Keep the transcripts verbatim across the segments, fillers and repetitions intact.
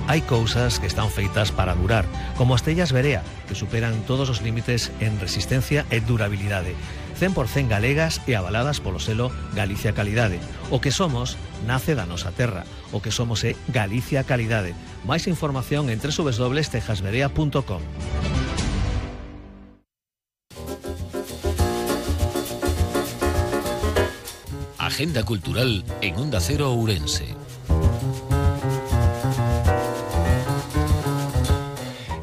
Hai cousas que están feitas para durar, como as tellas Berea, que superan todos os límites en resistencia e durabilidade, cen por cento galegas e avaladas polo selo Galicia Calidade. O que somos nace da nosa terra, o que somos é Galicia Calidade. Máis información en doble u doble u doble u punto tejas berea punto com. Agenda cultural en Onda Cero Ourense.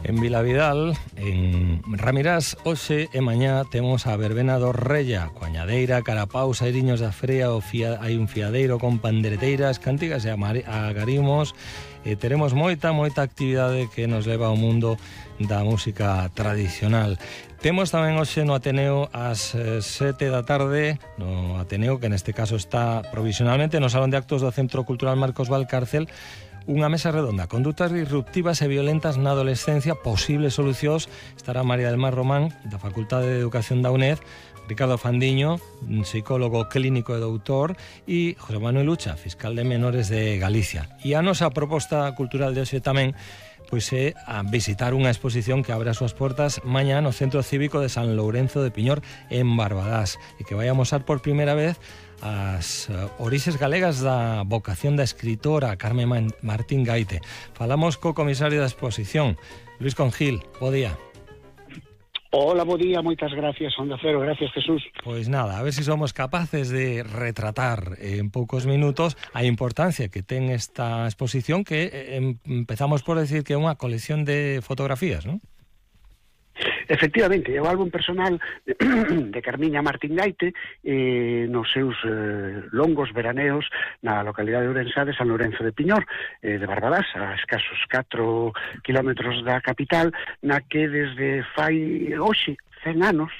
En Vilavidal, en Ramirás, hoxe e mañá temos a verbena do Rella, coañadeira, carapaus, airiños da frea, o fia, hai un fiadeiro con pandereteiras, cánticas e agarimos, e teremos moita, moita actividade que nos leva ao mundo da música tradicional. Temos tamén hoxe no Ateneo ás sete da tarde, no Ateneo, que neste caso está provisionalmente no Salón de Actos do Centro Cultural Marcos Valcárcel, unha mesa redonda, condutas disruptivas e violentas na adolescencia, posibles solucións. Estará María del Mar Román, da Facultade de Educación da U N E D, Ricardo Fandiño, psicólogo clínico e doutor, e José Manuel Ucha, fiscal de menores de Galicia. E a nosa proposta cultural de hoxe tamén pois é a visitar unha exposición que abre as súas portas mañá no Centro Cívico de San Lourenzo de Piñor, en Barbadás, e que vai a mostrar por primeira vez as orixes galegas da vocación da escritora Carmen Martín Gaite. Falamos co comisario da exposición, Luis Congil. Bo día. Hola, bo día, moitas gracias, Onda Cero, gracias, Jesús. Pois nada, a ver se si somos capaces de retratar en poucos minutos a importancia que ten esta exposición, que eh, empezamos por decir que é unha colección de fotografías, non? Efectivamente, é o álbum personal de Carmiña Martín Gaite eh, nos seus eh, longos veraneos na localidade de Ourense de San Lourenzo de Piñor, eh, de Barbadás, a escasos catro kilómetros da capital, na que desde fai hoxe cen anos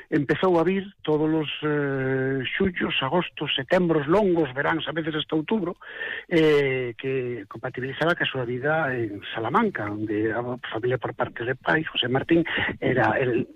empezou a vir todos os eh, xullos, agostos, setembros longos, veráns, a veces hasta outubro, eh, que compatibilizaba ca súa vida en Salamanca, onde a familia por parte de pai, José Martín, era el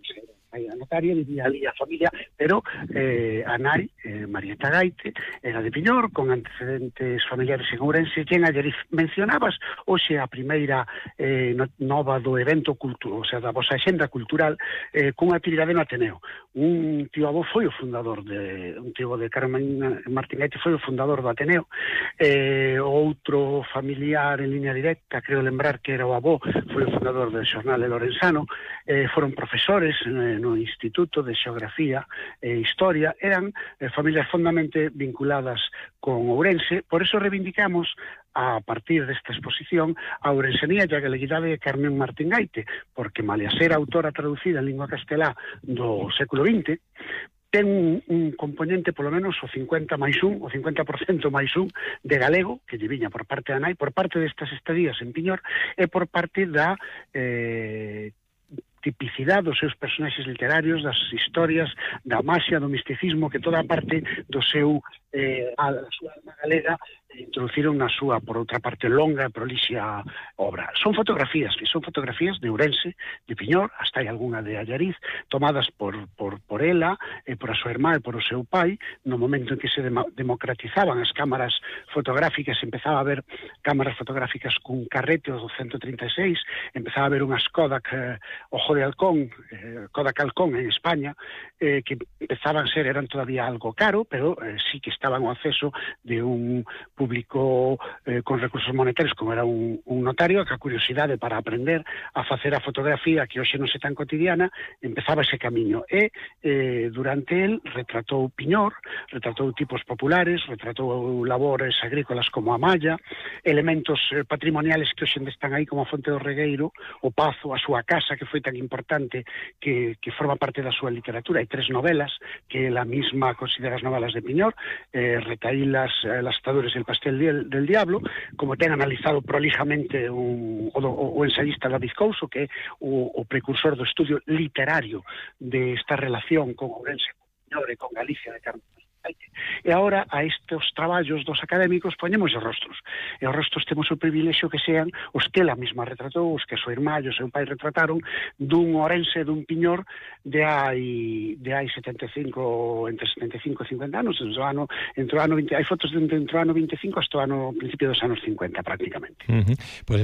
a notaria, vivía ali a familia, pero eh, a nai, eh, Marieta Gaite, era de Piñor, con antecedentes familiares en Ourense, quen ayer mencionabas hoxe a primeira eh, nova do evento cultural, o sea, da vosa axenda cultural, eh, cunha actividade no Ateneo. Un tío avó foi o fundador de, un tío de Carmen Martín Gaite foi o fundador do Ateneo, eh, outro familiar en línea directa, creo lembrar que era o avó, foi o fundador del Xornal de Lorenzano, eh, foron profesores eh, no Instituto de Xeografía e Historia, eran eh, familias fondamente vinculadas con Ourense, por eso reivindicamos a partir desta exposición a ourensenía e a galeguidade de Carmen Martín Gaite, porque malia ser autora traducida en lingua castelá do século vinte, ten un, un componente polo menos o cincuenta máis un, o cincuenta por cento máis un de galego, que lle viña por parte da nai, por parte destas estadías en Piñor, e por parte da eh, tipicidade dos seus personaxes literarios, das historias, da maxia, do misticismo, que toda a parte do seu eh, a, a súa alma galega introduciron na súa, por outra parte, longa e prolixia obra. Son fotografías, que son fotografías de Ourense, de Piñor, hasta hai algunha de Allariz, tomadas por, por, por ela, e por a súa irmá e por o seu pai, no momento en que se dem democratizaban as cámaras fotográficas, empezaba a haber cámaras fotográficas cun carrete do ciento trinta e seis, empezaba a haber unhas Kodak eh, Ojo de Halcón, eh, Kodak Halcón en España, eh, que empezaban a ser, eran todavía algo caro, pero eh, sí que estaban ao acceso de un público eh, con recursos monetarios, como era un, un notario, que a curiosidade para aprender a facer a fotografía, que hoxe non é tan cotidiana, empezaba ese camiño. E eh, durante el retratou Piñor, retratou tipos populares, retratou labores agrícolas como a malla, elementos eh, patrimoniales que hoxe están aí como a Fonte do Regueiro, o Pazo, a súa casa, que foi tan importante, que, que forma parte da súa literatura. Hai tres novelas que ela misma considera as novelas de Piñor, eh, Retaílas, eh, Las Atadures del Pastel del, del Diablo, como ten analizado prolijamente un, o, o ensayista David Couso, que é o, o precursor do estudio literario de esta relación con Ourense, con Piñor e con Galicia de Carmen. E agora a estes traballos dos académicos poñemos os rostros, e os rostros temos o privilexio que sean os que ela mesma retratou, os que a súa irmá e o seu pai retrataron, dun Ourense, dun Piñor de hai de hai setenta e cinco, entre setenta e cinco e cincuenta anos, entre o ano, entre o ano vinte, hai fotos de entre o ano vinte e cinco hasta o ano principio dos anos cincuenta prácticamente. Uh-huh. Pois